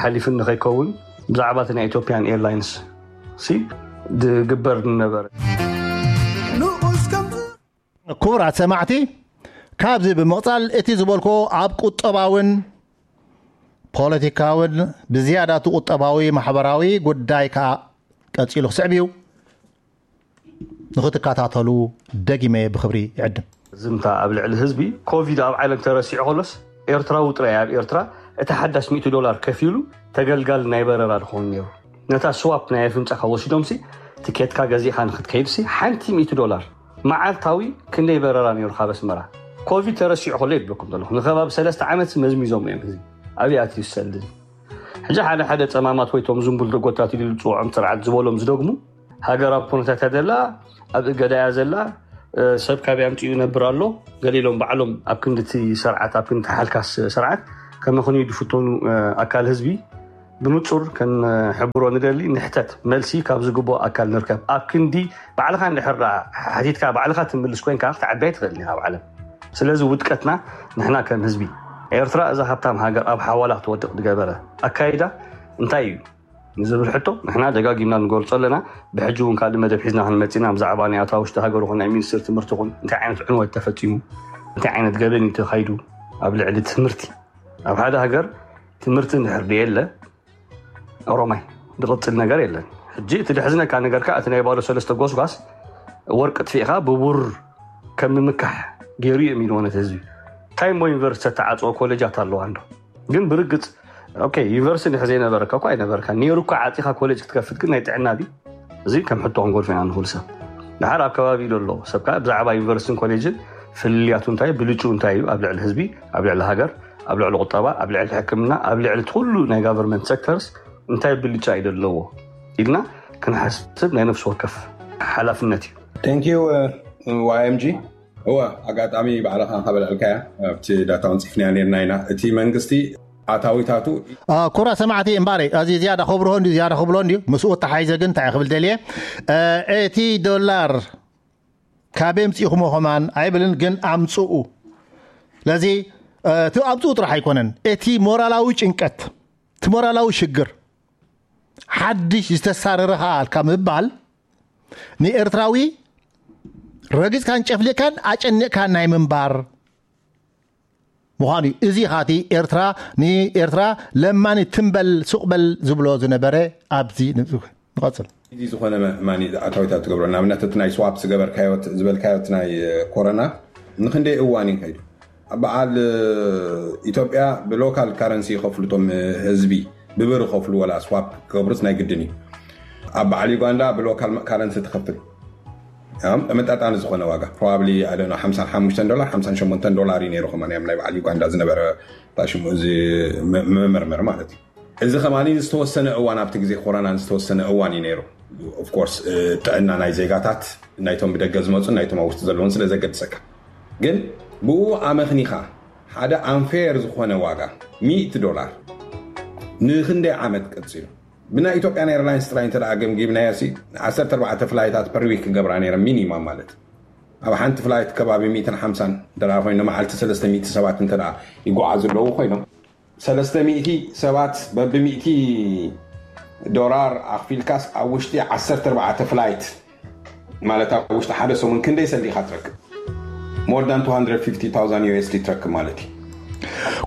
ሓሊፉ ንኸይከውን ብዛዕባ እቲ ናይ ኢትዮጵያን ኤርላይንስ ሲ ድግበር ነበረ። ንኡስ ከም ክቡራት ሰማዕቲ፣ ካብዚ ብምቕጻል እቲ ዝበልኮ ኣብ ቁጠባውን ፖለቲካውን ብዝያዳ እቲ ቁጠባዊ ማሕበራዊ ጉዳይ ከኣ ቀጺሉ ክስዕብ እዩ። ንኽትከታተሉ ደጊመ ብኽብሪ ይዕድም። ዝምታ ኣብ ልዕሊ ህዝቢ ኮቪድ ኣብ ዓለም ተረሲዑ ከሎስ ኤርትራዊ ጥራይ ኣብ ኤርትራ እቲ ሓዳሽ ሚእቲ ዶላር ከፊሉ ተገልጋል ናይ በረራ ድኾን ነይሩ። ነታ ስዋፕ ናይ ኣፍንጫኻ ወሲዶምሲ ትኬትካ ገዚእኻ ንኽትከይድሲ ሓንቲ ሚእቲ ዶላር። መዓልታዊ ክንደይ በረራ ነይሩ ካብ ኣስመራ? ኮቪድ ተረሲዑ ከሎ ይብለኩም ዘለኹ ንከባቢ ሰለስተ ዓመት መዝሚዞም እዮም። እዚ ኣብይ ኣትዩ ሰልዲ? ሕጂ ሓደ ሓደ ጸማማት ወይ ቶም ዝንቡል ደጎታት ኢሉ ዝጽውዖም ስርዓት ዝበሎም ዝደግሙ ሃገር ኣብ ኩነታት እያ ዘላ፣ ኣብ እገዳ እያ ዘላ፣ ሰብ ካበይ ኣምጺኡ ይነብር ኣሎ፣ ገለ ኢሎም ባዕሎም ኣብ ክንዲ እቲ ስርዓት፣ ኣብ ክንዲ ሓልካስ ስርዓት ከመኽንዩ ዝፍተኑ ኣካል ህዝቢ ብንጹር ከንሕብሮ ንደሊ። ንሕተት፣ መልሲ ካብ ዝግብኦ ኣካል ንርከብ። ኣብ ክንዲ ባዕልኻ እንድሕር ደኣ ሓቲትካ ባዕልኻ ትምልስ ኮይንካ ክትዓቢ ኣይትኽእልን ኢኻ ኣብ ዓለም። ስለዚ ውድቀትና ንሕና ከም ህዝቢ። ኤርትራ እዛ ሃብታም ሃገር ኣብ ሓዋላ ክትወድቕ ዝገበረ ኣካይዳ እንታይ እዩ ንዝብል ሕቶ ንሕና ደጋጊምና ንገልጾ ኣለና። ብሕጂ እውን ካልእ መደብ ሒዝና ክንመጽእ ኢና። ብዛዕባ ናይ ኣታ ውሽጢ ሃገር ይኹን ናይ ሚኒስትር ትምህርቲ ይኹን እንታይ ዓይነት ዕንወት ተፈጺሙ፣ እንታይ ዓይነት ገበን እዩ ተኻይዱ ኣብ ልዕሊ ትምህርቲ። ኣብ ሓደ ሃገር ትምህርቲ እንድሕር ደየለ ኦሮማይ ዝቕጽል ነገር የለን። ሕጂ እቲ ደሕዝነካ ነገር ከኣ እቲ ናይ ባዶ ሰለስተ ጎስጓስ ወርቂ ጥፊእኻ ብቡር ከም ምምካሕ ገይሩ እዩ የሚሉ ነቲ ህዝቢ። እንታይ እሞ ዩኒቨርሲቲ ተዓጽኦ ኮሌጃት ኣለዋ እንዶ? ግን ብርግጽ ኦኬ፣ ዩኒቨርሲቲ እንድሕር ዘይነበረካ እኮ ኣይነበረካ። ነይሩ እኮ ዓጺኻ ኮሌጅ ክትከፍት ግን ናይ ጥዕና ድዩ? እዚ ከም ሕቶ ክንጎድፎ ኢና ንኽእል ሰብ። ድሓር ኣብ ከባቢ ዘሎ ሰብ ከኣ ብዛዕባ ዩኒቨርሲቲን ኮሌጅን ፍልልያቱ እንታይ፣ ብልጭኡ እንታይ እዩ ኣብ ልዕሊ ህዝቢ፣ ኣብ ልዕሊ ሃገር፣ ኣብ ልዕሊ ቁጠባ፣ ኣብ ልዕሊ ሕክምና፣ ኣብ ልዕሊ እቲ ኩሉ ናይ ጋቨርንመንት ሴክተርስ እንታይ ብልጫ እዩ ዘለዎ ኢልና ክንሓስብ ናይ ነፍሲ ወከፍ ሓላፍነት እዩ። Thank you, uh, ዋይ ኤም ጂ። እወ፣ ኣጋጣሚ ባዕልኻ እንካ በልዐልካያ ኣብቲ ዳታ ወንፂፍናያ ነርና ኢና። እቲ መንግስቲ ኣታዊታቱ አ፣ ኩራ ሰማዕቲ እምባረይ፣ እዚ ዝያዳ ከብርሆ እንዲ ዝያዳ ክብሎ እንዲ ምስኡ ተሓይዘ ግን እንታይ ክብል ደልየ፣ አ፣ እቲ ዶላር ካብ የምፅእኹሞ ከማን ኣይብልን፣ ግን ኣምፅኡ። ስለዚ፣ አ፣ እቲ ኣምፅኡ ጥራሕ ኣይኮነን፣ እቲ ሞራላዊ ጭንቀት፣ እቲ ሞራላዊ ሽግር፣ ሓድሽ ዝተሳረረ ከኣ ኣልካ ምባል ንኤርትራዊ ረጊጽካን ጨፍሊቕካን ኣጨኒቕካን ናይ ምንባር ምዃኑ እዩ። እዚ ኻቲ ኤርትራ ንኤርትራ ለማኒ ትንበል ሱቕ በል ዝብሎ ዝነበረ ኣብዚ ንቐጽል። እዚ ዝኾነ መ-፣ ማኒ ኣታዊታት ትገብሮ። ንኣብነት እቲ ናይ ስዋፕ ዝገበርካዮ፣ ዝበልካዮ እቲ ናይ ኮረና ንኽንደይ እዋን እዩ ከይዱ? ኣብ በዓል ኢትዮጵያ ብሎካል ካረንሲ ይኸፍሉ እቶም ህዝቢ፣ ብብር ይኸፍሉ፣ ወላ ስዋፕ ክገብሩስ ናይ ግድን እዩ። ኣብ በዓል ዩጋንዳ ብሎካል ካረንሲ ትኸፍል። ያም ተመጣጣኒ ዝኾነ ዋጋ፣ ፕሮባብሊ፣ ኣይ ዶንት ኖ፣ ሓምሳን ሓሙሽተን ዶላር፣ ሓምሳን ሸሞንተን ዶላር እዩ ነይሩ። ከማን ያም ናይ በዓል ዩጋንዳ ዝነበረ፣ ታሽሙ፣ እዚ መ-፣ መመርመሪ ማለት እዩ። እዚ ከማኒ ዝተወሰነ እዋን፣ ኣብቲ ግዜ ኮሮና ዝተወሰነ እዋን እዩ ነይሩ። ኦፍ ኮርስ፣ እ፣ ጥዕና ናይ ዜጋታት፣ ናይቶም ብደገ ዝመጹን ናይቶም ኣብ ውሽጢ ዘለውን ስለ ዘገድሰካ። ግን ብኡ ኣመኽኒኻ ሓደ ኣንፌር ዝኾነ ዋጋ፣ ሚእቲ ዶላር፣ ንኽንደይ ዓመት ቀጺሉ? ብናይ ኢትዮጵያን ኤርላይንስ ጥራይ እንተ ደኣ ገምጊምናዮ ሲ፣ ዓሰርተ ኣርባዕተ ፍላይታት ፐር ዊክ ክገብራ ነይረን፣ ሚኒማም ማለት። ኣብ ሓንቲ ፍላይት ከባቢ ሚእትን ሓምሳን እንተ ደኣ ኮይኑ፣ ንመዓልቲ ሰለስተ ሚእቲ ሰባት እንተ ደኣ ይጓዓዙ ኣለዉ ኮይኖም፣ ሰለስተ ሚእቲ ሰባት በብሚእቲ ዶላር ኣኽፊልካስ ኣብ ውሽጢ ዓሰርተ ኣርባዕተ ፍላይት፣ ማለት ኣብ ውሽጢ ሓደ ሰሙን ክንደይ ሰልዲ ኢኻ ትረክብ? More than two hundred fifty thousand ዩ ኤስ ዲ ትረክብ ማለት እዩ።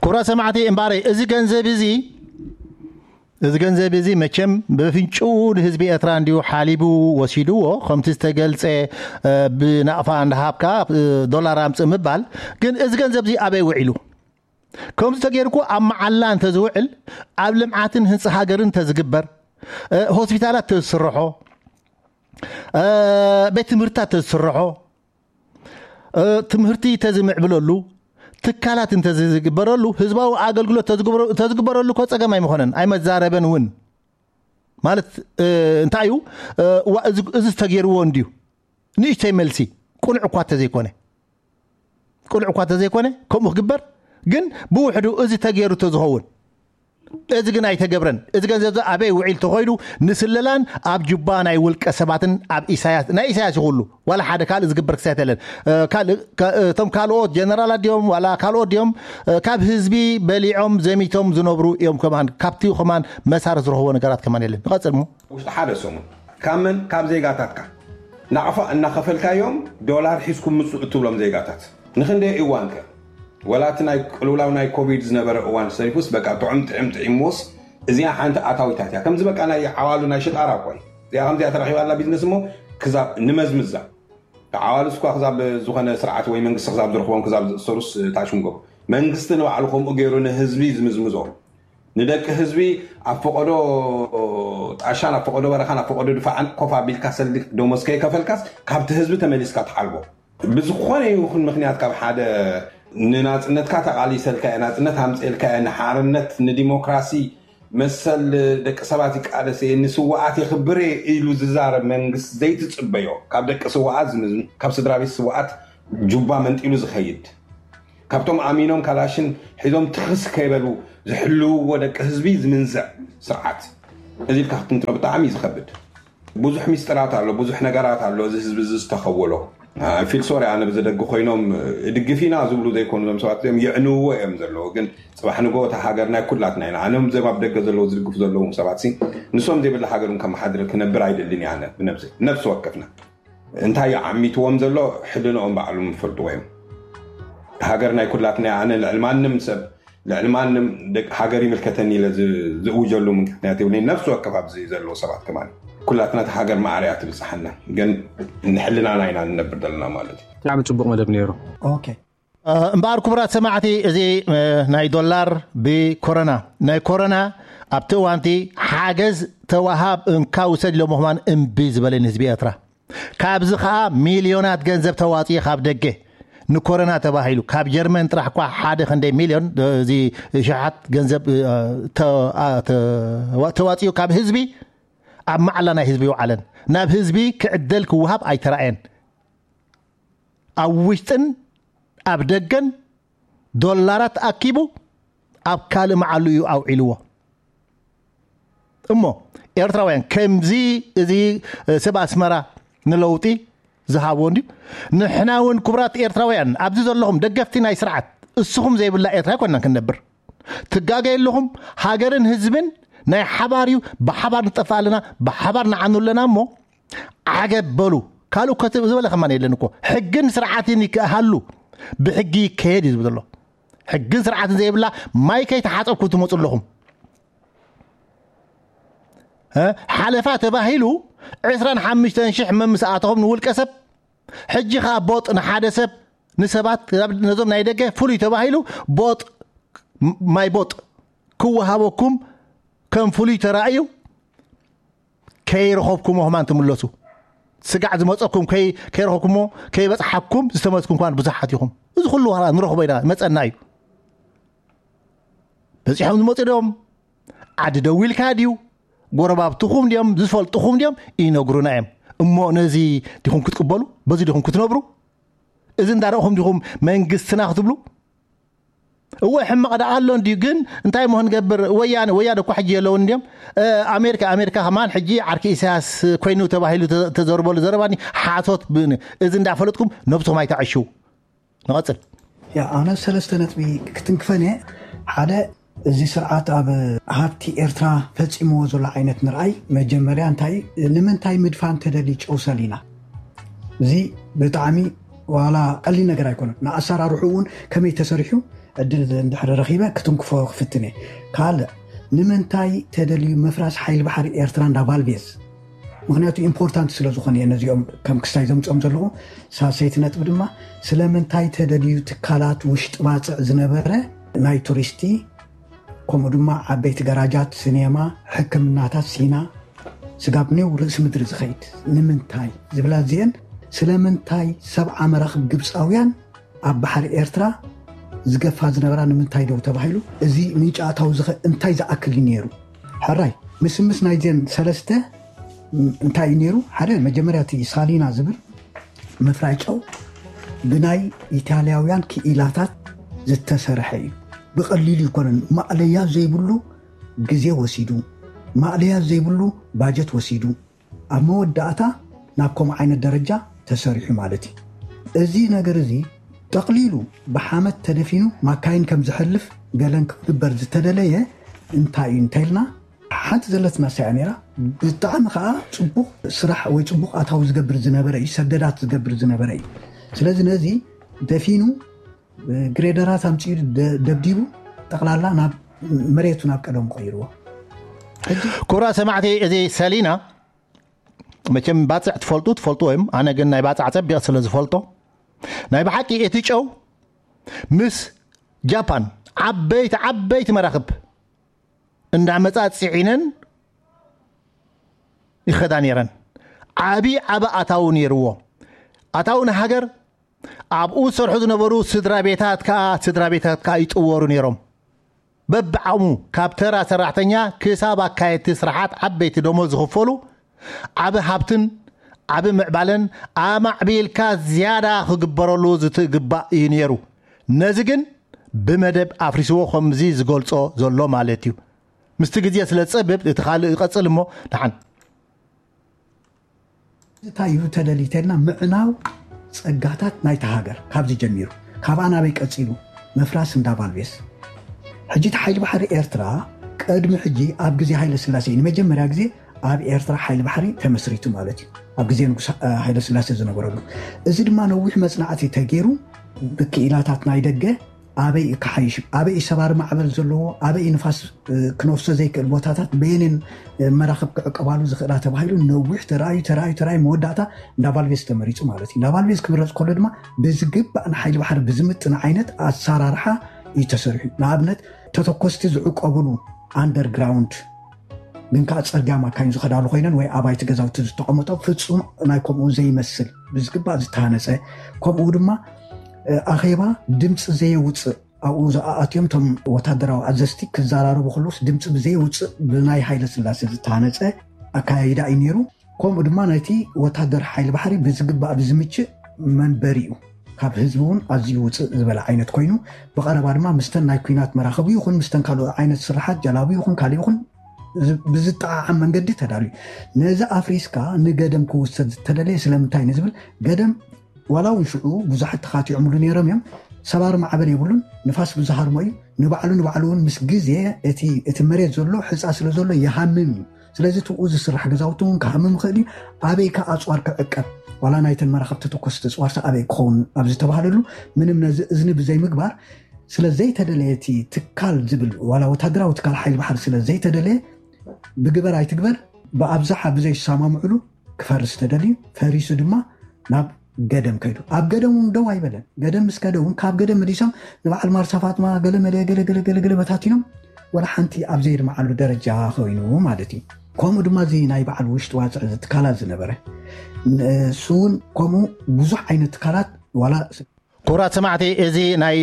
ክቡራት ሰማዕቲ፣ እምበኣረይ፣ እዚ ገንዘብ እዚ፣ እዚ ገንዘብ እዚ መቸም ብፍንጭኡ ንህዝቢ ኤርትራ እንድዩ ሓሊቡ ወሲድዎ፣ ከምቲ ዝተገልጸ፣ እ፣ ብናቕፋ እንዳሃብካ፣ እ፣ ዶላር ኣምጽእ ምባል። ግን እዚ ገንዘብ እዚ ኣበይ ውዒሉ? ከምዚ ተገይሩ እኮ ኣብ መዓላ እንተዝውዕል፣ ኣብ ልምዓትን ህንጻ ሃገርን እንተዝግበር፣ እ፣ ሆስፒታላት እንተዝስርሖ፣ እ፣ ቤት ትምህርትታት እንተዝስርሖ፣ እ፣ ትምህርቲ እንተዝምዕብለሉ፣ ትካላት እንተዝግበረሉ፣ ህዝባዊ ኣገልግሎት እንተዝግበረ-፣ እንተዝግበረሉ እኮ ጸገም ኣይምኾነን፣ ኣይመዛረበን እውን። ማለት፣ እ፣ እንታይ እዩ? እ፣ ዋ-፣ እዚ፣ እዚ ዝተገይርዎ እንድዩ። ንእሽተይ መልሲ፣ ቅኑዕ እኳ እንተዘይኮነ። ቅኑዕ እኳ እንተዘይኮነ፣ ከምኡ ክግበር፣ ግን ብውሕዱ እዚ ተገይሩ እንተዝኸውን፣ እዚ ግን ኣይተገብረን። እዚ ገንዘብ እዚ ኣበይ ውዒል ተኾይኑ? ንስለላን ኣብ ጁባ ናይ ውልቀ ሰባትን ኣብ ኢሳያስ፣ ናይ ኢሳያስ ይኹሉ ዋላ ሓደ ካልእ ዝግበር ክሳየት የለን። እቶም ካልኦት ጀነራላት ድዮም ዋላ ካልኦት ድዮም ካብ ህዝቢ በሊዖም ዘሚቶም ዝነብሩ እዮም። ከማን ካብቲ ከማን መሳርት ዝረኽቦ ነገራት ከማን የለን። ንቐጽል ሞ ውሽጢ ሓደ ሰሙን ካብ መን ካብ ዜጋታትካ ናቕፋ እናኸፈልካዮም ዶላር ሒዝኩም ምፁ እትብሎም ዜጋታት ንክንደይ እዋንከ? ወላቲ ናይ ቅልውላው ናይ ኮቪድ ዝነበረ እዋን ሰሪፉስ በቃ ጥዑም ጥዕም ጥዒምዎስ እዚኣ ሓንቲ ኣታዊታት እያ። ከምዚ በቃ ናይ ዓዋሉ ናይ ሽጣራ እኮ እዩ። እዚኣ ከምዚኣ ተረኺባ ኣላ ቢዝነስ እሞ ክዛብ ንመዝምዛ ዓዋሉ እስኳ ክዛብ ዝኾነ ስርዓት ወይ መንግስቲ ክዛብ ዝረኽቦም ክዛብ ዝእሰሩስ ታሽምጎ መንግስቲ ንባዕሉ ከምኡ ገይሩ ንህዝቢ ዝምዝምዞ ንደቂ ህዝቢ ኣብ ፈቐዶ ጣሻን ኣብ ፈቐዶ በረኻን ኣብ ፈቐዶ ድፋዕን ኮፍ ኣቢልካ ሰልዲ ደሞዝ ከይከፈልካስ ካብቲ ህዝቢ ተመሊስካ ትሓልቦ ብዝኾነ ይኹን ምክንያት ካብ ሓደ ንናፅነትካ ተቓሊሰልካ እየ ናፅነት ኣምፅኤልካ እየ ንሓርነት ንዲሞክራሲ መሰል ደቂ ሰባት ይቃለስ እየ ንስዋኣት የኽብር እየ ኢሉ ዝዛረብ መንግስት ዘይትፅበዮ ካብ ደቂ ስዋኣት ዝምዝም ካብ ስድራ ቤት ስዋኣት ጁባ መንጢሉ ዝኸይድ ካብቶም ኣሚኖም ካላሽን ሒዞም ትኽስ ከይበሉ ዝሕልውዎ ደቂ ህዝቢ ዝምንዝዕ ስርዓት እዚ ኢልካ ክትንትኖ ብጣዕሚ እዩ ዝኸብድ። ብዙሕ ሚስጥራት ኣሎ፣ ብዙሕ ነገራት ኣሎ እዚ ህዝቢ እዚ ዝተኸወሎ። ፊል ሶሪ ኣነ ብዘደጊ ኮይኖም እድግፍ ኢና ዝብሉ ዘይኮኑ ዞም ሰባት እዚኦም የዕንውዎ እዮም ዘለዉ። ግን ፅባሕ ንጎ እታ ሃገር ናይ ኩላትና ኢና። ኣነ ዞም ኣብ ደገ ዘለዉ ዝድግፉ ዘለዉ ሰባት ሲ ንሶም ዘይብላ ሃገር እውን ከመሓድር ክነብር ኣይደልን እየ ኣነ ብነብሰይ ነፍሲ ወከፍና። እንታይ እዩ ዓሚትዎም ዘሎ ሕልንኦም ባዕሎም ይፈልጥዎ እዮም። ሃገር ናይ ኩላትና እያ። ኣነ ልዕሊ ማንም ሰብ ልዕሊ ማንም ደቂ ሃገር ይምልከተኒ ኢለ ዝ- ዝእውጀሉ ምክንያት የብለይ። ነፍሲ ወከፍ ኣብዚ ዘለዉ ሰባት ከማን ኩላትና እታ ሃገር ማዕረ እያ ትብፅሓና። ግን ንሕልናና ኢና ንነብር ዘለና ማለት እዩ። ብጣዕሚ ፅቡቅ መደብ ነይሩ። ኦኬ እምበኣር ክቡራት ሰማዕቲ እዚ ናይ ዶላር ብኮረና ናይ ኮረና ኣብቲ እዋንቲ ሓገዝ ተዋሃብ እንካ ውሰድ ኢሎሞ ከማን እምቢ ዝበለን ህዝቢ ኤርትራ ካብዚ ከዓ ሚልዮናት ገንዘብ ተዋፅኡ ካብ ደገ ንኮረና ተባሂሉ ካብ ጀርመን ጥራሕ እኳ ሓደ ክንደይ ሚልዮን እዚ ሸሓት ገንዘብ ተዋፅኡ ካብ ህዝቢ ኣብ ማዕላ ናይ ህዝቢ ይውዓለን ናብ ህዝቢ ክዕደል ክወሃብ ኣይተራእየን። ኣብ ውሽጥን ኣብ ደገን ዶላራት ኣኪቡ ኣብ ካልእ መዓሉ እዩ ኣውዒልዎ። እሞ ኤርትራውያን ከምዚ እዚ ሰብ ኣስመራ ንለውጢ ዝሃብዎ እንድዩ። ንሕና እውን ክቡራት ኤርትራውያን ኣብዚ ዘለኹም ደገፍቲ ናይ ስርዓት እስኹም ዘይብላ ኤርትራ ኣይኮንናን ክንነብር። ትጋገዩ ኣለኹም። ሃገርን ህዝብን ናይ ሓባር እዩ። ብሓባር ንጠፍእ ኣለና፣ ብሓባር ንዓኑ ኣለና። እሞ ዓገብ በሉ። ካልእ እኮ ዝበለ ከማን የለን እኮ። ሕግን ስርዓትን ይከሃሉ ብሕጊ ይከየድ እዩ ዝብል ዘሎ። ሕግን ስርዓትን ዘይብላ ማይ ከይተሓፀብኩም ትመፁ ኣለኹም። ሓለፋ ተባሂሉ ዕስራን ሓሙሽተን ሽሕ መምስኣተኹም ንውልቀ ሰብ ሕጂ ከዓ ቦጥ ንሓደ ሰብ ንሰባት ነዞም ናይ ደገ ፍሉይ ተባሂሉ ቦጥ ማይ ቦጥ ክወሃበኩም ከም ፍሉይ ተራእዩ ከይረኸብኩሞ ከማን ትምለሱ። ስጋዕ ዝመፀኩም ከይረኸብኩሞ ከይበፅሓኩም ዝተመዝኩም ኳን ብዙሓት ኢኹም። እዚ ኩሉ ዋላ ንረኽቦ ኢና መፀና እዩ። በፂሖም ዝመፁ ዶም ዓዲ ደው ኢልካ ድዩ? ጎረባብትኹም ድዮም ዝፈልጥኹም ድዮም ይነግሩና እዮም። እሞ ነዚ ዲኹም ክትቅበሉ? በዚ ዲኹም ክትነብሩ? እዚ እንዳረእኹም ዲኹም መንግስትና ክትብሉ? እወ ሕማቕ ደኣ ኣሎ እንድዩ። ግን እንታይ ሞ ክንገብር? ወያነ ወያነ እኳ ሕጂ የለውን እንድዮም። ኣሜሪካ ኣሜሪካ ከማን ሕጂ ዓርኪ ኢሳያስ ኮይኑ ተባሂሉ ተዘርበሉ ዘረባኒ ሓሶት ብን እዚ እንዳፈለጥኩም ነብስኹም ኣይተዕሽው። ንቐፅል። ያ ኣነ ሰለስተ ነጥቢ ክትንክፈን እየ። ሓደ እዚ ስርዓት ኣብ ሃብቲ ኤርትራ ፈፂምዎ ዘሎ ዓይነት ንርኣይ መጀመርያ እንታይ ንምንታይ ምድፋን ተደሊ ጨውሰል ኢና እዚ ብጣዕሚ ዋላ ቀሊል ነገር ኣይኮነን። ንኣሰራርሑ እውን ከመይ ተሰሪሑ ዕድል እንድሕር ረኺበ ክትንክፎ ክፍትን እየ። ካልእ ንምንታይ ተደልዩ ምፍራስ ሓይሊ ባሕሪ ኤርትራ እንዳ ቫልዴዝ ምክንያቱ ኢምፖርታንት ስለ ዝኾነ እየ ነዚኦም ከም ክስታይ ዘምፅኦም ዘለኹ። ሳልሰይቲ ነጥቢ ድማ ስለምንታይ ተደልዩ ትካላት ውሽጢ ባፅዕ ዝነበረ ናይ ቱሪስቲ ከምኡ ድማ ዓበይቲ ገራጃት፣ ሲኔማ፣ ሕክምናታት፣ ሲና፣ ስጋብ ኔው ርእሲ ምድሪ ዝኸይድ ንምንታይ ዝብላ እዚአን ስለምንታይ ሰብዓ መራኽብ ግብፃውያን ኣብ ባሕሪ ኤርትራ ዝገፋ ዝነበራ ንምንታይ ደው ተባሂሉ? እዚ ምንጪ ኣታዊ ዝኸ እንታይ ዝኣክል እዩ ነይሩ? ሕራይ ምስምስ ናይዘን ሰለስተ እንታይ እዩ ነይሩ? ሓደ መጀመርያ እቲ ሳሊና ዝብል ምፍራይ ጨው ብናይ ኢታልያውያን ክኢላታት ዝተሰርሐ እዩ። ብቐሊል ይኮነን ማእለያ ዘይብሉ ግዜ ወሲዱ፣ ማእለያ ዘይብሉ ባጀት ወሲዱ፣ ኣብ መወዳእታ ናብ ከምኡ ዓይነት ደረጃ ተሰሪሑ ማለት እዩ። እዚ ነገር እዚ ጠቕሊሉ ብሓመድ ተደፊኑ ማካይን ከም ዝሕልፍ ገለን ክግበር ዝተደለየ እንታይ እዩ እንተኢልና፣ ሓንቲ ዘለትና ሳያ ነይራ። ብጣዕሚ ከዓ ፅቡቕ ስራሕ ወይ ፅቡቕ ኣታዊ ዝገብር ዝነበረ እዩ፣ ሰደዳት ዝገብር ዝነበረ እዩ። ስለዚ ነዚ ደፊኑ ግሬደራት ኣምፂኡ ደ- ደብዲቡ ጠቕላላ ናብ መሬቱ ናብ ቀደሙ ቀይርዎ። ሕጂ ክቡራት ሰማዕቲ፣ እዚ ሰሊና መቸም ባፅዕ ትፈልጡ ትፈልጡ እዮም። ኣነ ግን ናይ ባፅዕ ፀቢቕ ስለ ዝፈልጦ ናይ ብሓቂ እቲ ጨው ምስ ጃፓን ዓበይቲ ዓበይቲ መራኽብ እንዳመፃ ፅዒነን ይኸዳ ነይረን። ዓብዪ ዓበ ኣታዊ ነይርዎ። ኣታዊ ንሃገር ኣብኡ ዝሰርሑ ዝነበሩ ስድራ ቤታት ከዓ ስድራ ቤታት ከዓ ይጥወሩ ነይሮም። በብዓቕሙ ካብ ተራ ሰራሕተኛ ክሳብ ኣካየድቲ ስራሓት ዓበይቲ ደሞዝ ዝኽፈሉ ዓቢ ሃብትን ዓቢ ምዕባለን ኣማዕቢልካ ዝያዳ ክግበረሉ ዝትግባእ እዩ ነይሩ። ነዚ ግን ብመደብ ኣፍሪስዎ ከምዚ ዝገልጾ ዘሎ ማለት እዩ። ምስቲ ግዜ ስለ ዝጸብብ እቲ ካልእ ይቐጽል እሞ ደሓን። እንታይ እዩ ተደልዩ ተልና ምዕናው ጸጋታት ናይታ ሃገር ካብዚ ጀሚሩ ካብኣ ናበይ ቀጺሉ ምፍራስ እንዳ ቫልቬስ። ሕጂ እቲ ሓይሊ ባሕሪ ኤርትራ ቅድሚ ሕጂ ኣብ ግዜ ሃይለ ስላሴ እዩ ንመጀመርያ ግዜ ኣብ ኤርትራ ሓይሊ ባሕሪ ተመስሪቱ ማለት እዩ። ኣብ ግዜ ንጉስ ሃይለ ስላሴ ዝነበረሉ እዚ ድማ ነዊሕ መጽናዕቲ ተገይሩ ብክኢላታት ናይ ደገ ኣበይ እዩ ክሓይሽ፣ ኣበይ እዩ ሰባሪ ማዕበል ዘለዎ፣ ኣበይ እዩ ንፋስ ክነፍሶ ዘይክእል ቦታታት በየንን መራኽብ ክዕቀባሉ ዝኽእላ ተባሂሉ ነዊሕ ተራእዩ ተራእዩ ተራእዩ መወዳእታ እንዳ ቫልቬስ ተመሪፁ ማለት እዩ። እንዳ ቫልቬስ ክምረፅ ከሎ ድማ ብዝግባእ ንሓይሊ ባሕሪ ብዝምጥን ዓይነት ኣሰራርሓ እዩ ተሰሪሑ። ንኣብነት ተተኮስቲ ዝዕቀብሉ ኣንደርግራውንድ ግን ከዓ ፅርግያ ማካይን ዝኸዳሉ ኮይነን ወይ ኣባይቲ ገዛውቲ ዝተቐመጦ ፍፁም ናይ ከምኡ ዘይመስል ብዝግባእ ዝተሃነፀ ከምኡ ድማ ኣኼባ ድምፂ ዘየውፅእ ኣብኡ ዝኣኣትዮም እቶም ወታደራዊ ኣዘዝቲ ክዘራረቡ ከለውስ ድምፂ ብዘየውፅእ ብናይ ሃይለ ስላሴ ዝተሃነፀ ኣካያይዳ እዩ ነይሩ። ከምኡ ድማ ናይቲ ወታደር ሓይሊ ባሕሪ ብዝግባእ ብዝምችእ መንበሪኡ ካብ ህዝቢ እውን ኣዝዩ ውፅእ ዝበለ ዓይነት ኮይኑ ብቐረባ ድማ ምስተን ናይ ኩናት መራኸቡ ይኹን ምስተን ካልኦ ዓይነት ስራሓት ጀላቡ ይኹን ካልእ ይኹን ብዝጠዓዓም መንገዲ ተዳልዩ። ነዚ ኣፍሪስካ ንገደም ክውሰድ ዝተደለየ ስለምንታይ ንዝብል ገደም ዋላ እውን ሽዑ ብዙሓት ተኻቲዖምሉ ነይሮም እዮም። ሰባሪ ማዕበል የብሉን፣ ንፋስ ብዝሃርሞ እዩ። ንባዕሉ ንባዕሉ እውን ምስ ግዜ እቲ መሬት ዘሎ ሕፃ ስለ ዘሎ ይሃምም እዩ። ስለዚ ትብኡ ዝስራሕ ገዛውቲ እውን ክሃምም ይኽእል እዩ። ኣበይ ከ ኣፅዋር ክዕቀብ ዋላ ናይተን መራኸብቲ ተኮስቲ እፅዋርሲ ኣበይ ክኸውን ኣብ ዝተባህለሉ ምንም ነዚ እዝኒ ብዘይምግባር ስለ ዘይተደለየ እቲ ትካል ዝብል ዋላ ወታደራዊ ትካል ሓይሊ ባሕሪ ስለ ዘይተደለየ ብግበር ኣይትግበር ብኣብዝሓ ብዘይሰማምዕሉ ክፈርስ ተደልዩ ፈሪሱ ድማ ናብ ገደም ከይዱ ኣብ ገደም እውን ደው ኣይበለን። ገደም ምስ ከደ እውን ካብ ገደም መሊሶም ንበዓል ማርሳ ፋጥማ ገለ መለ ገለ ገለ ገለ ገለ በታቲኖም ወላ ሓንቲ ኣብ ዘይድምዓሉ ደረጃ ኮይኑ ማለት እዩ። ከምኡ ድማ እዚ ናይ በዓል ውሽጢ ዋፅዕ እዚ ትካላት ዝነበረ ንሱ እውን ከምኡ ብዙሕ ዓይነት ትካላት ዋላ ክቡራት ሰማዕቲ፣ እዚ ናይ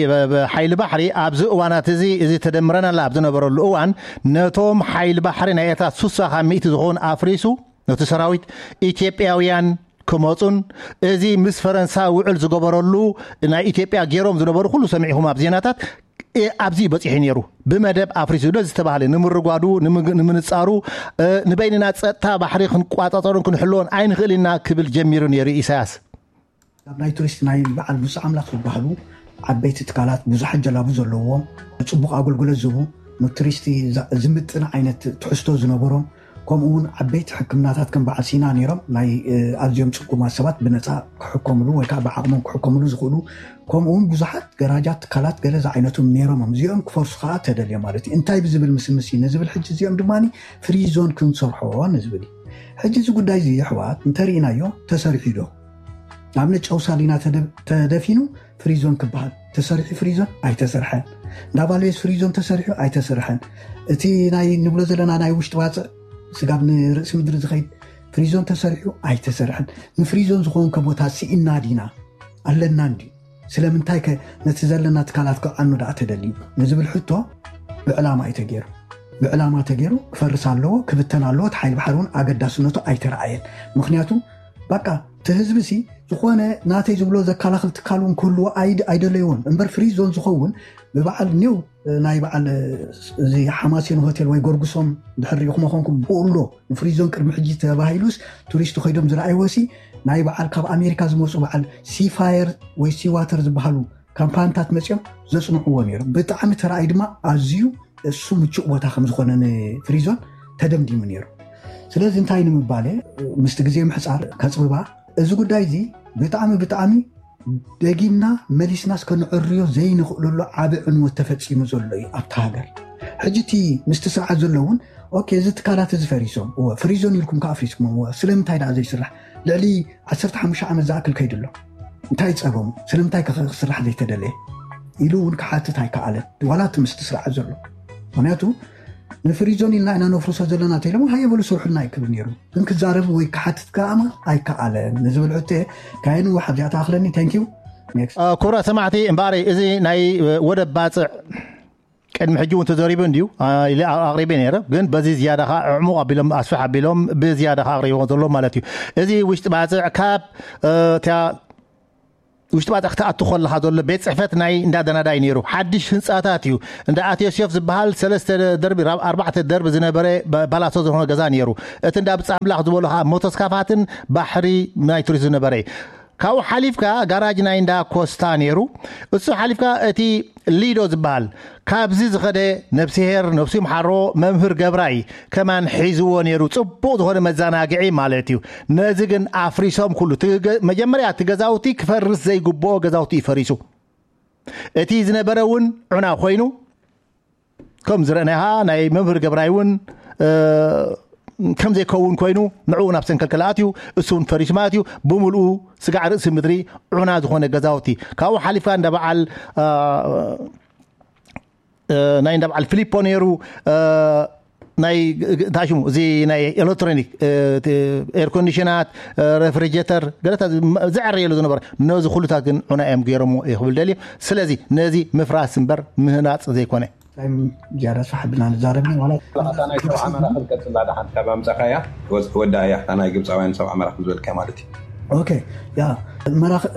ሓይሊ ባሕሪ ኣብዚ እዋናት እዚ እዚ ተደምረናላ ኣብ ዝነበረሉ እዋን ነቶም ሓይሊ ባሕሪ ናይ ኤርትራ ሱሳ ካብ ሚእቲ ዝኾኑ ኣፍሪሱ ነቲ ሰራዊት ኢትዮጵያውያን ክመፁን እዚ ምስ ፈረንሳ ውዕል ዝገበረሉ ናይ ኢትዮጵያ ገይሮም ዝነበሩ ኩሉ ሰሚዕኹም ኣብ ዜናታት ኣብዚ በፂሑ ነይሩ። ብመደብ ኣፍሪሱ ዶ ዝተባህለ ንምርጓዱ ንምንፃሩ ንበይንና ፀጥታ ባሕሪ ክንቋፃፀሩን ክንሕልዎን ኣይንኽእል ኢና ክብል ጀሚሩ ነይሩ ኢሳያስ። ኣብ ናይ ቱሪስት ናይ በዓል ብፁዕ ኣምላኽ ዝበሃሉ ዓበይቲ ትካላት ብዙሓት ጀላቡ ዘለዎም ንፅቡቕ ኣገልግሎት ዝህቡ ንቱሪስቲ ዝምጥን ዓይነት ትሕዝቶ ዝነበሮም ከምኡ እውን ዓበይቲ ሕክምናታት ከም በዓል ሲና ነይሮም ናይ ኣዝዮም ፅጉማት ሰባት ብነፃ ክሕከምሉ ወይ ከዓ ብዓቕሞም ክሕከምሉ ዝኽእሉ ከምኡ እውን ብዙሓት ገራጃት ትካላት ገለ ዝዓይነቶም ነይሮም እዮም። እዚኦም ክፈርሱ ከዓ ተደልዮም ማለት እዩ። እንታይ ብዝብል ምስምስ እዩ ንዝብል ሕጂ እዚኦም ድማ ፍሪ ዞን ክንሰርሖ ንዝብል እዩ። ሕጂ እዚ ጉዳይ እዚ ኣሕዋት እንተርኢናዮ ተሰሪሑ ዶ ኣብነት ጨው ሳሊና ተደፊኑ ፍሪዞን ክበሃል ተሰሪሑ ፍሪዞን ኣይተሰርሐን። እንዳ ቫልቤስ ፍሪዞን ተሰሪሑ ኣይተሰርሐን። እቲ ናይ ንብሎ ዘለና ናይ ውሽጢ ዋፅዕ ስጋብ ንርእሲ ምድሪ ዝኸይድ ፍሪዞን ተሰሪሑ ኣይተሰርሐን። ንፍሪዞን ዝኸውን ከቦታ ስኢና ዲና ኣለና እንዲ ስለምንታይ ከ ነቲ ዘለና ትካላት ክዓኑ ደኣ ተደልዩ ንዝብል ሕቶ ብዕላማ እዩ ተገይሩ። ብዕላማ ተገይሩ ክፈርስ ኣለዎ ክብተን ኣለዎ። እቲ ሓይሊ ባሕሪ እውን ኣገዳስነቱ ኣይተረኣየን። ምክንያቱ በቃ እቲ ህዝቢ ሲ ዝኾነ ናተይ ዝብሎ ዘከላኽል ትካል እውን ክህልዎ ኣይደለይዎን እምበር ፍሪ ዞን ዝኸውን ብበዓል ኒው ናይ በዓል እዚ ሓማሴን ሆቴል ወይ ጎርጉሶም ድሕር ሪኢኹም ኾንኩም ብኡሎ ንፍሪዞን ቅድሚ ሕጂ ተባሂሉስ ቱሪስት ኮይዶም ዝረኣይዎ ሲ ናይ በዓል ካብ ኣሜሪካ ዝመፁ በዓል ሲፋየር ወይ ሲዋተር ዝበሃሉ ካምፓንታት መፂኦም ዘፅንዕዎ ነይሩ። ብጣዕሚ ተረኣይ ድማ ኣዝዩ እሱ ምቹእ ቦታ ከም ዝኾነ ንፍሪዞን ተደምዲሙ ነይሩ። ስለዚ እንታይ ንምባለ ምስቲ ግዜ ምሕፃር ከፅብባ እዚ ጉዳይ እዚ ብጣዕሚ ብጣዕሚ ደጊምና መሊስናስ ከንዕርዮ ዘይንኽእለሉ ዓቢ ዕንወት ተፈጺሙ ዘሎ እዩ ኣብታ ሃገር። ሕጂ እቲ ምስቲ ስርዓት ዘሎ እውን ኦኬ እዚ ትካላት እዚ ፈሪሶም እወ ፍሪዞን ኢልኩም ከዓ ኣፍሪስኩም እወ ስለምንታይ ደኣ ዘይስራሕ ልዕሊ ዓሰርተ ሓሙሽተ ዓመት ዝኣክል ከይዱ ኣሎ እንታይ ፀገሙ ስለምንታይ ክስራሕ ዘይተደለየ ኢሉ እውን ክሓትት ኣይከኣለን ዋላ እቲ ምስቲ ስርዓት ዘሎ ምክንያቱ ንፍሪዞን ኢልና ኢና ነፍርሶ ዘለና ተኢሎም ሃየ በሉ ስርሑልና ይክብል ነይሩ ግን ክዛረብ ወይ ክሓትት ከኣማ ኣይከኣለን ንዝብል ሕቶ ካይኑ ሓብዚኣ ተኣኽለኒ thank you ክቡራት ሰማዕቲ እምበኣሪ እዚ ናይ ወደብ ባፅዕ ቅድሚ ሕጂ እውን ተዘሪቡ እንድዩ ኣቅሪበ ነይረ ግን በዚ ዝያዳ ከዓ ዕሙቕ ኣቢሎም ኣስፍሕ ኣቢሎም ብዝያዳ ከዓ ኣቅሪቦ ዘሎ ማለት እዩ እዚ ውሽጢ ባፅዕ ካብ እቲያ ውሽጢ ባፅዕ ክትኣቱ ከለካ ዘሎ ቤት ፅሕፈት ናይ እንዳ ደናዳይ ነይሩ ሓድሽ ህንፃታት እዩ እንዳ ኣትዮስዮፍ ዝበሃል ሰለስተ ደርቢ ራብ ኣርባዕተ ደርቢ ዝነበረ ባላሶ ዝኾነ ገዛ ነይሩ እቲ እንዳ ብፃ ኣምላኽ ዝበሉ ከዓ ሞቶስካፋትን ባሕሪ ናይ ቱሪስት ዝነበረ ካብኡ ሓሊፍካ ጋራጅ ናይ እንዳ ኮስታ ነይሩ እሱ ሓሊፍካ እቲ ሊዶ ዝበሃል ካብዚ ዝኸደ ነብስሄር ነብሱ ይምሓሮ መምህር ገብራይ ከማን ሒዝዎ ነይሩ ፅቡቕ ዝኾነ መዘናግዒ ማለት እዩ ነዚ ግን ኣፍሪሶም ኩሉ መጀመርያ እቲ ገዛውቲ ክፈርስ ዘይግብኦ ገዛውቲ እዩ ፈሪሱ እቲ ዝነበረ እውን ዑና ኮይኑ ከም ዝረእናኻ ናይ መምህር ገብራይ እውን ከም ዘይከውን ኮይኑ ንዕኡ ናብ ሰንከልከል ኣትዩ እሱ እውን ፈሪሱ ማለት እዩ ብምልኡ ስጋዕ ርእሲ ምድሪ ዑና ዝኾነ ገዛውቲ ካብኡ ሓሊፍካ እንዳ በዓል ናይ እንዳ በዓል ፊሊፖ ነይሩ ናይ እንታይ ሽሙ እዚ ናይ ኤሌክትሮኒክ ኤር ኮንዲሽናት ሬፍሪጀተር ገለታ ዝዕረየሉ ዝነበረ ነዚ ኩሉታት ግን ዑና እዮም ገይሮሞ ይክብል ደልዩ ስለዚ ነዚ ምፍራስ እምበር ምህናፅ ዘይኮነ ዝያዳ ሰሓ ብልና ንዛረብ ናይ ሰብ ዓመራ ክንቀፅላ ደሓን ካብ ኣምፀኻያ ወዳ እያ ናይ ግብፃውያን ሰብ ዓመራ ዝበልካ ማለት እዩ ኦኬ ያ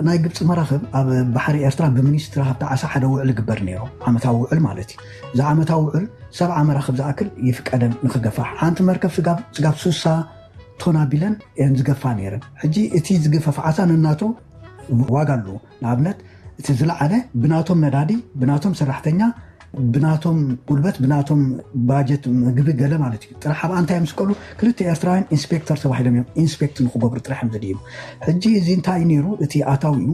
ናይ ግብፂ መራኽብ ኣብ ባሕሪ ኤርትራ ብሚኒስትሪ ሃብቲ ዓሳ ሓደ ውዕል ይግበር ነይሩ ዓመታዊ ውዕል ማለት እዩ እዚ ዓመታዊ ውዕል ሰብዓ መራኽብ ዝኣክል ይፍቀደን ንክገፋሕ ሓንቲ መርከብ ስጋብ ስጋብ ሱሳ ቶን ኣቢለን እየን ዝገፋ ነይረን ሕጂ እቲ ዝግፈፍ ዓሳ ነናቱ ዋጋ ኣለዎ ንኣብነት እቲ ዝለዓለ ብናቶም ነዳዲ ብናቶም ሰራሕተኛ ብናቶም ጉልበት ብናቶም ባጀት ምግቢ ገለ ማለት እዩ ጥራሕ ኣብ ኣንታይ ምስ ከሉ ክልተ ኤርትራውያን ኢንስፔክተር ተባሂሎም እዮም ኢንስፔክት ንክገብሩ ጥራሕ እዮም ዝድይቡ ሕጂ እዚ እንታይ እዩ ነይሩ እቲ ኣታዊ እዩ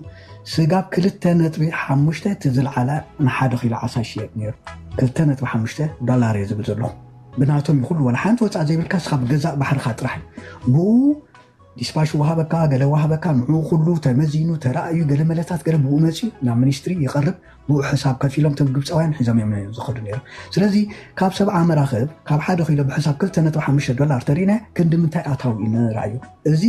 ስጋብ ክልተ ነጥቢ ሓሙሽተ እቲ ዝለዓለ ንሓደ ኪሎ ዓሳ ይሽየጥ ነይሩ ክልተ ነጥቢ ሓሙሽተ ዶላር እየ ዝብል ዘለኹ ብናቶም ይኩሉ ወላ ሓንቲ ወፃእ ዘይብልካ ስኻ ብገዛእ ባሕርካ ጥራሕ እዩ ብኡ ዲስፓሽ ወሃበካ ገለ ወሃበካ ንዑ ኩሉ ተመዚኑ ተራእዩ ገለ መለታት ገለ ብኡ መፅዩ ናብ ሚኒስትሪ ይቐርብ ብኡ ሕሳብ ከፊሎም ቶም ግብፃውያን ሒዞም እዮም ዝኸዱ ነይሩ ስለዚ ካብ ሰብዓ መራኽብ ካብ ሓደ ኪሎ ብሕሳብ ክልተ ነጥቢ ሓሙሽተ ዶላር ተሪእና ክንዲ ምንታይ ኣታዊ እዩ ንረኣዩ እዚ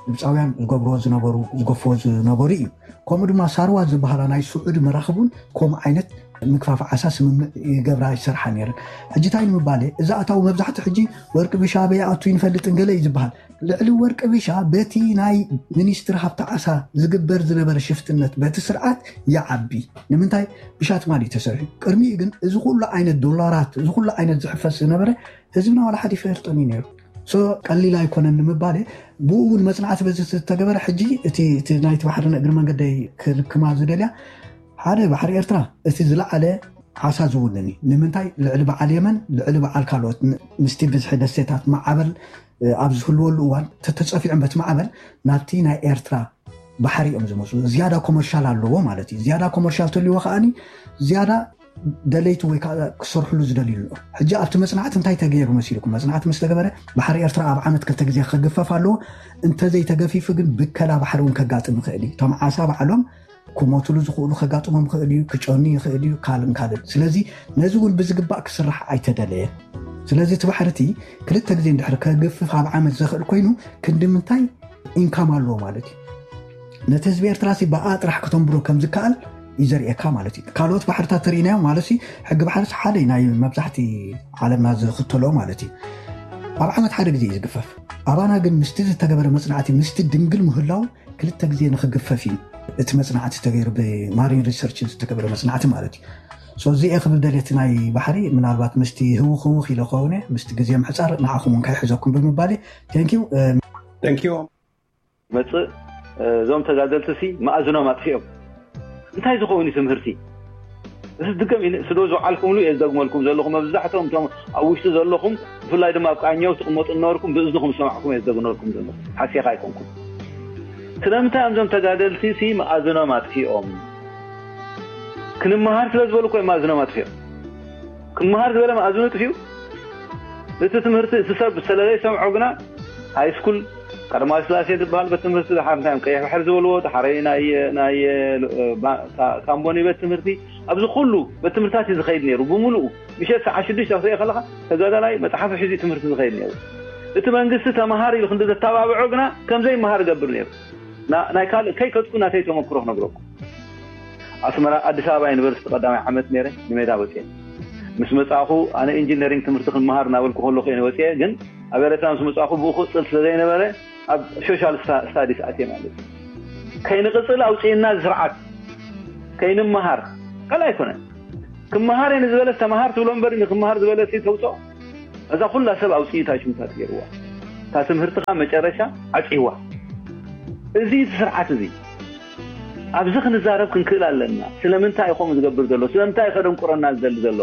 ግብፃውያን ዝገብርዎ ዝነበሩ ዝገፍዎ ዝነበሩ እዩ ከምኡ ድማ ሳርዋ ዝበሃላ ናይ ስዑዲ መራኽብ እውን ከምኡ ዓይነት ምግፋፍ ዓሳ ስምምዕ ይገብራ ይሰርሓ ነይረን ሕጂ እንታይ ንምባል እዚ ኣታዊ መብዛሕትኡ ሕጂ ወርቂ ብሻ በይ ኣቱ ይንፈልጥን ገለ እዩ ዝበሃል ልዕሊ ወርቂ ብሻ በቲ ናይ ሚኒስትሪ ሃብቲ ዓሳ ዝግበር ዝነበረ ሽፍትነት በቲ ስርዓት ይዓቢ ንምንታይ ብሻ ትማሊ ተሰርሑ ቅድሚኡ ግን እዚ ኩሉ ዓይነት ዶላራት እዚ ኩሉ ዓይነት ዝሕፈስ ዝነበረ ህዝብና ዋላ ሓደ ይፈልጦን እዩ ነይሩ ሶ ቀሊል ኣይኮነን ንምባል ብኡ እውን መፅናዕቲ በዚ ዝተገበረ ሕጂ እቲ ናይቲ ባሕሪ ንእግሪ መንገደይ ክልክማ ዝደልያ ሓደ ባሕሪ ኤርትራ እቲ ዝለዓለ ዓሳ ዝውንን እዩ ንምንታይ ልዕሊ በዓል የመን ልዕሊ በዓል ካልኦት ምስቲ ብዝሒ ደሴታት ማዕበል ኣብ ዝህልወሉ እዋን ተተፀፊዖም በቲ ማዕበል ናብቲ ናይ ኤርትራ ባሕሪ እዮም ዝመፁ ዝያዳ ኮመርሻል ኣለዎ ማለት እዩ ዝያዳ ኮመርሻል ተልዎ ከዓኒ ዝያዳ ደለይቲ ወይ ከዓ ክሰርሕሉ ዝደልዩ ኣሎ ሕጂ ኣብቲ መፅናዕቲ እንታይ ተገይሩ መሲልኩም መፅናዕቲ ምስ ተገበረ ባሕሪ ኤርትራ ኣብ ዓመት ክልተ ግዜ ክግፈፍ ኣለዎ እንተዘይተገፊፉ ግን ብከላ ባሕሪ እውን ከጋጥም ይኽእል እዩ እቶም ዓሳ ባዕሎም ክሞትሉ ዝኽእሉ ከጋጥሞም ይኽእል እዩ ክጨኑ ይኽእል እዩ ካልም ካልም ስለዚ ነዚ እውን ብዝግባእ ክስራሕ ኣይተደለየን ስለዚ እቲ ባሕርቲ ክልተ ግዜ እንድሕር ከግፍፍ ኣብ ዓመት ዘኽእል ኮይኑ ክንዲ ምንታይ ኢንካም ኣለዎ ማለት እዩ ነቲ ህዝቢ ኤርትራ ሲ ብኣ ጥራሕ ከተንብሮ ከም ዝከኣል እዩ ዘርእየካ ማለት እዩ ካልኦት ባሕርታት ተርእናዮም ማለት ሕጊ ባሕርስ ሓደ ናይ መብዛሕቲ ዓለምና ዝኽተሎ ማለት እዩ ኣብ ዓመት ሓደ ግዜ እዩ ዝግፈፍ ኣባና ግን ምስቲ ዝተገበረ መፅናዕቲ ምስቲ ድንግል ምህላው ክልተ ግዜ ንክግፈፍ እዩ እቲ መፅናዕቲ ዝተገይሩ ብማሪን ሪሰርች ዝተገበረ መፅናዕቲ ማለት እዩ So እዚ እየ ክብል ደልየ፣ እቲ ናይ ባሕሪ ምናልባት ምስቲ ህውኽ ህውኽ ኢለ ከውን እየ፣ ምስቲ ግዜ ምሕፃር ንዓኹም እውን ከይሕዘኩም ብምባል እዩ። Thank you። Thank you። መፅእ እዞም ተጋደልቲ ሲ መኣዝኖም ኣጥፊኦም እንታይ ዝኸውን እዩ ትምህርቲ? እዚ ድገም ኢለ ስዶ ዝዓልኩምሉ እየ ዝደግመልኩም ዘለኹ። መብዛሕትኦም እቶም ኣብ ውሽጢ ዘለኹም፣ ብፍላይ ድማ ኣብ ቃኘው ትቕመጡ እናበርኩም ብእዝንኹም ዝሰማዕኩም እየ ዝደግመልኩም ዘለኹ። ሓሴኻ ኣይኮንኩም። ስለምንታይ እዮም እዞም ተጋደልቲ ሲ መኣዝኖም ኣጥፊኦም? ክንመሃር ስለ ዝበሉ እኮ እዮም መኣዝኖም ኣጥፊኦም። ክመሃር ዝበለ መኣዝኑ ጥፊኡ። እቲ ትምህርቲ እቲ ሰብ ዝተለለ ይሰምዖ ግና ሃይ ስኩል ቀዳማዊ ስላሴ ዝበሃል ቤት ትምህርቲ ድሓር እንታይ እዮም ቀይሕ ባሕሪ ዝበልዎ ድሓረይ ናይ ናይ ባ- ካ- ካምቦኒ ቤት ትምህርቲ ኣብዚ ኩሉ ቤት ትምህርታት እዩ ዝኸይድ ነይሩ ብምሉኡ። ምሸት ሰዓት ሽዱሽተ ክትሪኦ ከለካ ተጋዳላይ መፅሓፍ ሒዙ ትምህርቲ ዝኸይድ ነይሩ። እቲ መንግስቲ ተምሃር ኢሉ ክንዲ ዘተባብዖ ግና ከምዘይመሃር ገብር ነይሩ። ና- ናይ ካልእ ከይከድኩ ናተይ ተመክሮ ክነግረኩም። ኣስመራ ኣዲስ ኣበባ ዩኒቨርሲቲ ቀዳማይ ዓመት ነይረ። ንሜዳ ወፅየ ምስ መፃእኹ ኣነ ኢንጂነሪንግ ትምህርቲ ክንመሃር እናበልኩ ከለኹ እየ ወፅየ። ግን ኣብ ኤረትራ ምስ መፃእኹ ብኡ ክቕፅል ስለ ዘይነበረ ኣብ ሶሻል ስታዲስ ኣትየ ማለት እዩ። ከይንቕፅል ኣውፅእና ስርዓት ከይንመሃር ካልእ ኣይኮነን። ክመሃር እየ ንዝበለስ ተምሃር ትብሎ እምበር ንክመሃር ዝበለስ ተውፅኦ። እዛ ኩላ ሰብ ኣውፅኢታ ሽምታት ገይርዋ። እታ ትምህርትኻ መጨረሻ ዓፅይዋ። እዚ እቲ ስርዓት እዚ ኣብዚ ክንዛረብ ክንክእል ኣለና። ስለምንታይ እዩ ከምኡ ዝገብር ዘሎ? ስለምንታይ እዩ ከደንቁረና ዝደሊ ዘሎ?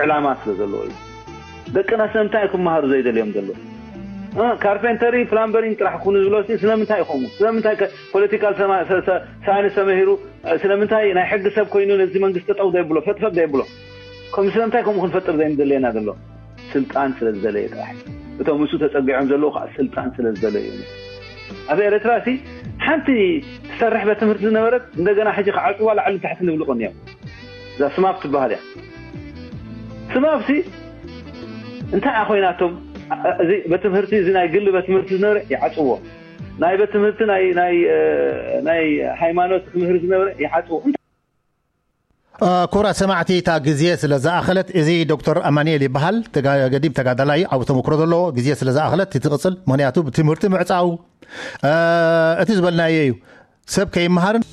ዕላማ ስለ ዘለዎ እዩ። ደቅና ስለምንታይ እዩ ክመሃሩ ዘይደልዮም ዘሎ? እ፣ ካርፔንተሪ ፕላምበሪንግ ጥራሕ ኩኑ ዝብሎ ሲ ስለምንታይ እዩ ከምኡ? ስለምንታይ ከ- ፖለቲካል ሰማ- ሰ- ሰ- ሳይንስ ተመሂሩ እ፣ ስለምንታይ ናይ ሕጊ ሰብ ኮይኑ ነዚ መንግስቲ ጠጠው ዘይብሎ ፈጥፈጥ ዘይብሎ? ከም ስለምንታይ ከምኡ ክንፈጥር ዘይምደለየና ዘሎ? ስልጣን ስለ ዝደለየ ጥራሕ። እቶም እሱ ተፀጊዖም ዘለዉ ከዓ ስልጣን ስለ ዝደለዩ እዮም። ኣብ ኤረትራ ሲ ሓንቲ ትሰርሕ ቤት ትምህርቲ ዝነበረት እንደገና ሕጂ ክዓፅዋ ላዕሊ ታሕቲ ንብሉ ቀኒዮም። እዛ ስማፕ ትበሃል እያ። ስማፕ ሲ እንታይ እያ ኮይናቶም? እ፣ እዚ ቤት ትምህርቲ እዚ ናይ ግሊ ቤት ትምህርቲ ዝነበረ ይዓፅዎ። ናይ ቤት ትምህርቲ ናይ ናይ እ፣ ናይ ሃይማኖት ትምህርቲ ዝነበረ ይዓፅዎ። ክቡራት ሰማዕቲ፣ እታ ግዜ ስለ ዝኣኸለት፣ እዚ ዶክተር ኣማኑኤል ይበሃል። ተጋ- ገዲም ተጋዳላይ፣ ዓቢ ተመክሮ ዘለዎ። ግዜ ስለ ዝኣኸለት ትቕጽል፣ ምኽንያቱ ብትምህርቲ ምዕጻው፣ እ፣ እቲ ዝበልናዮ እዩ። ሰብ ከይመሃርን